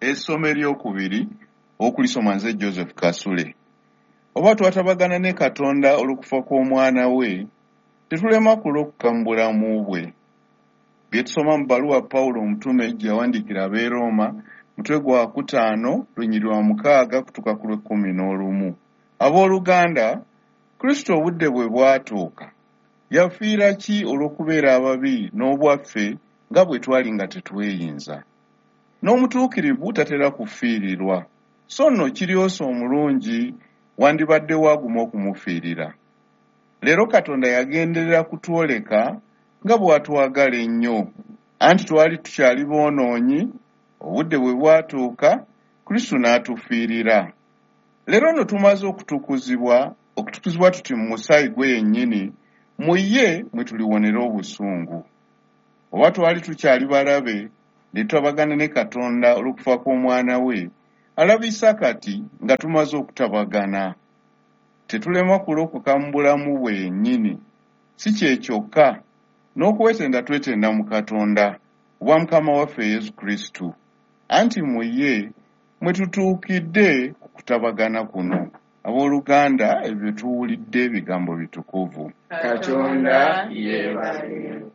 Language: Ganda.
Essomo eryokubiri okulisoma nze Joseph Kasule. Oba twatabagana ne Katonda olw'okufa kw'omwana we, tetulema kulokoka mu bulamu bwe. Bye tusoma mu bbaluwa Pawulo omutume gye yawandiikira ab'e Rooma, mutwe gwa kutaano, lunyiriri lwa mukaaga kutuuka ku lw'ekkumi n'olumu. Abooluganda, Kristo obudde bwe bwatuuka, yafiira ki olw'okubeera ababi n'obwaffe nga bwe twali nga tetweyinza? N'omutuukirivu tatera kufiirirwa, so nno kiryosa omulungi wandibaddewo aguma okumufiirira. Leero Katonda yagenderera kutwoleka nga bw'atwagala ennyo. Anti twali tukyali boonoonyi, obudde bwe bwatuuka, Kristo n'atufiirira. Leero nno tumaze okutukuzibwa, okutukuzibwa tuti mu musaayi gwe yennyini, mu ye mwe tuliwonera obusungu. Oba twali tukyali balabe, ne tutabagana ne Katonda olw'okufa kw'Omwana we, alabisa kati nga tumaze okutabagana. Tetulema kulokoka mu bulamu bwe yennyini. Si kye kyokka, n'okwetenda twetenda mu Katonda, ku bwa Mukama waffe Yesu Kristo. Anti mu ye mwe tutuukidde ku kutabagana kuno. Abooluganda, ebyo bye tuwulidde bigambo bitukuvu. Katonda yeebazibwe.